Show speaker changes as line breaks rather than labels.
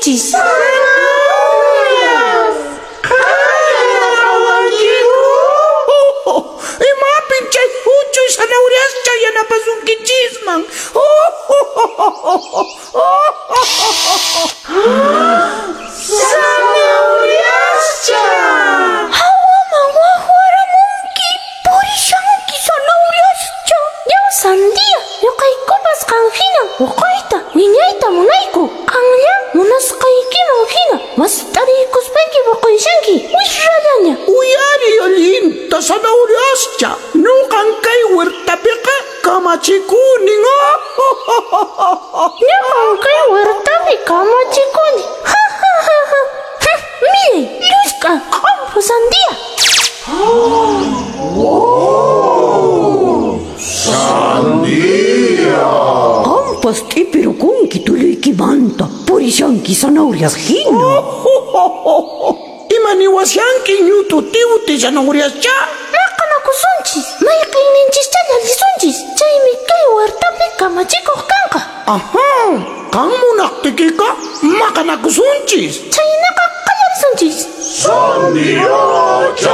Purishanchis.
Zanahorias! Qan yanapawankiku?
Imapin chay huchuy zanahoriascha yanapasunkichisman?
Zanahoriascha!
Hawaman waqwaramunki, purishanki zanahoriascha. Yaw sandia, ñuqaykupas qan hina puquyta, wiñayta munayku. Qanlla munasqaykiman hina mast'ariykuspayki puqushanki, wisrallaña.
Uyariy allinta zanahoriascha, ñuqan kay huertapiqa kamachikunin.
Ñuqan kay huertapi kamachikuni. Ha ha ha ha. Millay, llusk'a, q'ompu sandia.
Qampas t'ipirukunki tulluykimanta, purishanki zanahorias hina.
Ima niwashanki ñutu tiwti zanahoriascha?
Maqanakusunchis, mayqinninchista llallisunchis, chaymi kay huertapi kamachikuq kanqa.
Aha, qan munaqtiykiqa maqanakusunchis.
Chhaynaqa qallarisunchis.
Sandiacha!